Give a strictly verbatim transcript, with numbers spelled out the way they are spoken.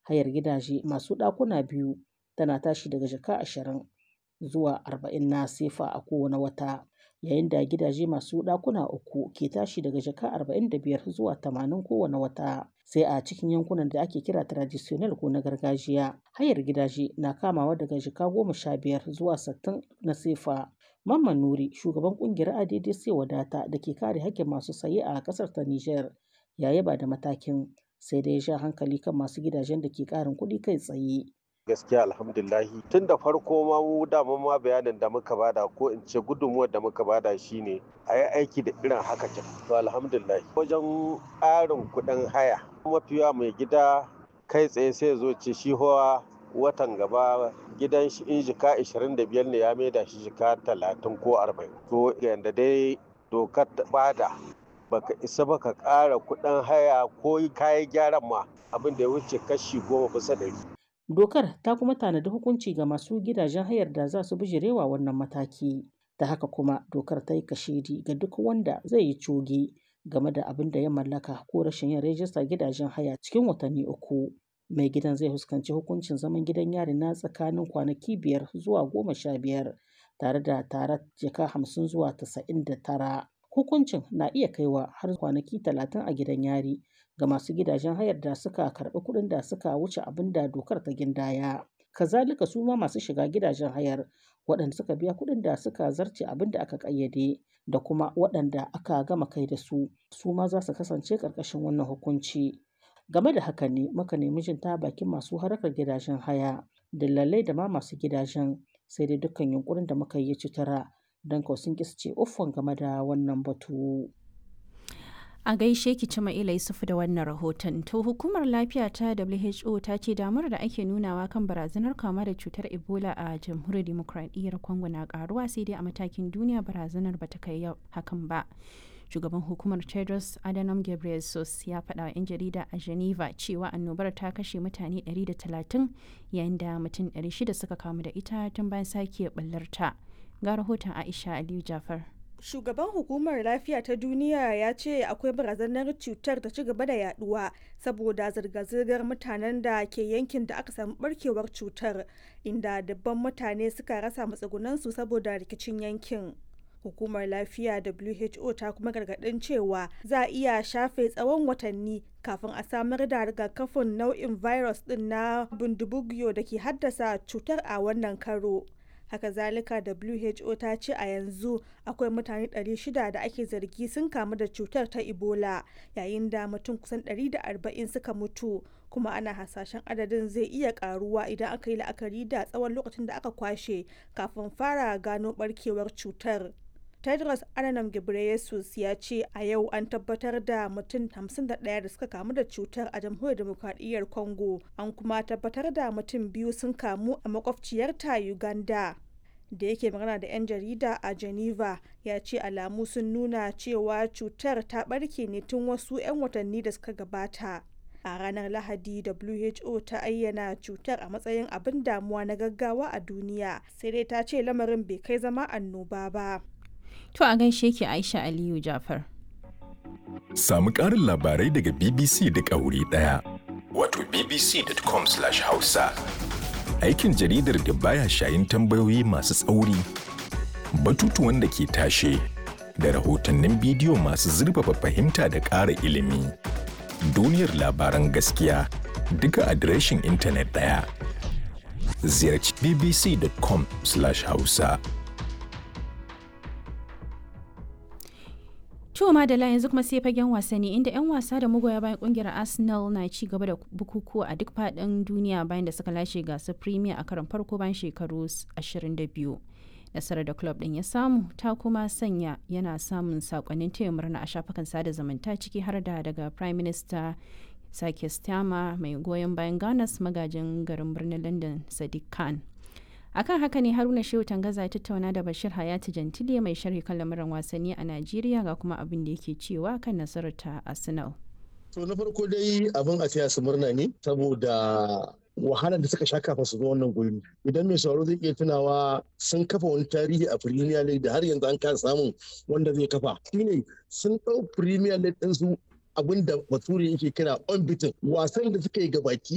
Hayar gidaje masu ɗakuna biyu tana tashi daga jaka ashirin zuwa arba'in na sefa a kowane wata, yayin da gidaje masu ɗakuna uku ke tashi daga jaka arba'in da biyar zuwa tamanin kowane wata. Sai a cikin yankunan da ake kira traditional ko na gargajiya, hayar gidaje na kamawa daga jaka goma sha biyar zuwa sittin na sefa. Mamman Nuri, shugaban kungiyar A D D C Wadata da ke kare hakkin masu saye a kasar ta Nijar, ya yaba da matakin, sai dai ya ja hankali kan masu gidajen da ke ƙarin kuɗi kai tsaye. Gaskiya alhamdulillahi, tun da farko ma mu dama ma bayanin da muka bada, ko in ce gudunmuwar da muka bada, shine a yi aiki da irin haka kin. To alhamdulillah, wajen ƙarin kuɗin haya, mafiya mai gida kai tsaye sai zo ce shi hoa watan gaba gidan shi in jika ashirin da biyar ne ya maida shi jika talatin ko arba'in. To yanda dai dokar ta bada, baka isa baka ƙara kuɗin haya ko kayan gyaran ma abin da ya wuce kashi goma bisa ɗari. Dokar ta kuma tanadi hukunci ga masu gidajen hayar da za su bijirewa wannan mataki. Ta haka kuma dokar ta yi kashedi ga duk wanda zai yi coge game da abin da ya mallaka ko rashin yin rajistar gidajen haya cikin watanni uku. Mai gidan zai fuskanci hukuncin zaman gidan yari na tsakanin kwanaki biyar zuwa goma sha biyar tare da tarar jaka hamsin zuwa tasa'in da tara. Hukuncin na iya kaiwa har kwanaki talatin a gidan yari ga masu gidajen hayar da suka karɓi kuɗin da suka wuce abin da dokar ta gindaya. Kazalika su ma masu shiga gidajen hayar waɗanda suka biya kuɗin da suka zarce abin da aka ƙayyade da kuma waɗanda aka gama kai da su, su ma za su kasance ƙarƙashin wannan hukunci. Game da haka ne muka nemi jin ta bakin masu harkar gidajen haya, dillalai da ma masu gidajen, sai dai dukkan yunƙurin da muka yi ya ci tura don kuwa sun ƙi su ce uffan game da wannan batu. A gaishe ki Cima'ila Yusufu da wannan rahoton. To hukumar lafiya ta W H O ta ce damar da ake nunawa kan barazanar kama da cutar Ebola a jamhuriyar Dimokuraɗiyyar Congo na karuwa, sai dai a matakin duniya barazanar ba ta kai hakan ba. Shugaban hukumar Tedros Adhanom Ghebreyesus ya faɗa wa 'yan jarida a Geneva cewa annobar ta kashe mutane ɗari da talatin yayin da mutum ɗari shida suka kamu da ita tun bayan sake ɓullarta. Ga rahoton Aisha Aliyu Jafar. Shugaban Hukumar Lafiya ta Duniya ya ce akwai barazanar cutar ta ci gaba da yaduwa saboda zirga-zirgar mutanen da ke yankin da aka samu barkewar cutar, inda dubban mutane suka rasa matsugunansu saboda rikicin yankin. Hukumar Lafiya W H O ta kuma gargadin cewa za a iya shafe tsawon watanni kafin a samar da rigakafin nau'in virus din na Bundibugyo da ke haddasa cutar a wannan karo. Haka zalika W H O ta ce a yanzu akwai mutane ɗari shida da ake zargi sun kamu da cutar ta Ebola, yayin da mutum kusan ɗari da arba'in suka mutu, kuma ana hasashen adadin zai iya karuwa idan aka yi la'akari da tsawon lokacin da aka kwashe kafin fara gano barkewar cutar. Tedros Adhanom Ghebreyesus ya ce a yau an tabbatar da mutum hamsin da ɗaya da suka kamu da cutar a Jamhuriyar Demokradiyyar Congo, an kuma tabbatar da mutum biyu sun kamu a makwabciyarta Uganda. Da yake magana da 'yan jarida a Geneva, ya ce alamu sun nuna cewa cutar ta barke ne tun wasu 'yan watanni da suka gabata. A ranar Lahadi W H O ta ayyana cutar a matsayin abin damuwa na gaggawa a duniya, sai dai ta ce lamarin bai kai zama annoba ba. To a gaishe ki Aisha Aliyu Jafar. Samu ƙarin labarai daga B B C da wuri ɗaya. Wato b b c dot com slash hausa. Aikin jaridar da baya shayin tambayoyi masu tsauri, batutuwan da ke tashe, da rahotannin bidiyo masu zurfafa fahimta da ƙara ilimi. Duniyar labaran gaskiya duka adireshin intanet ɗaya. Ziyarci b b c dot com slash hausa. To madalla, yanzu kuma sai fagen wasanni, inda 'yan wasa da magoya bayan kungiyar Arsenal na ci gaba da bukukuwa a duk faɗin duniya bayan da suka lashe gasar Premier a karon farko bayan shekaru ashirin da biyu. Nasarar da club ɗin ya samu ta kuma sanya yana samun sakonnin taya murna a shafukan sada zumunta, ciki har da daga Prime Minister Sake Starmer mai goyon bayan Gunners, magajin garin birnin London Sadiq Khan. Akan haka ne Haruna Shehu Tangaza ya tattauna da Bashir Hayati Jantile, mai sharhi kan lamuran wasanni a Najeriya, ga kuma abin da yake cewa kan nasarar ta Arsenal. To na farko dai abin a taya su murna ne saboda wahalar da suka sha kafin su zo wannan guri. Idan mai sauraro zai iya tunawa, sun kafa wani tarihi a Premier League da har yanzu an kasa samun wanda zai kafa. Shine sun ɗau Premier League ɗinsu, abin da Bature yake kira unbeaten, wasan da suka yi gabaki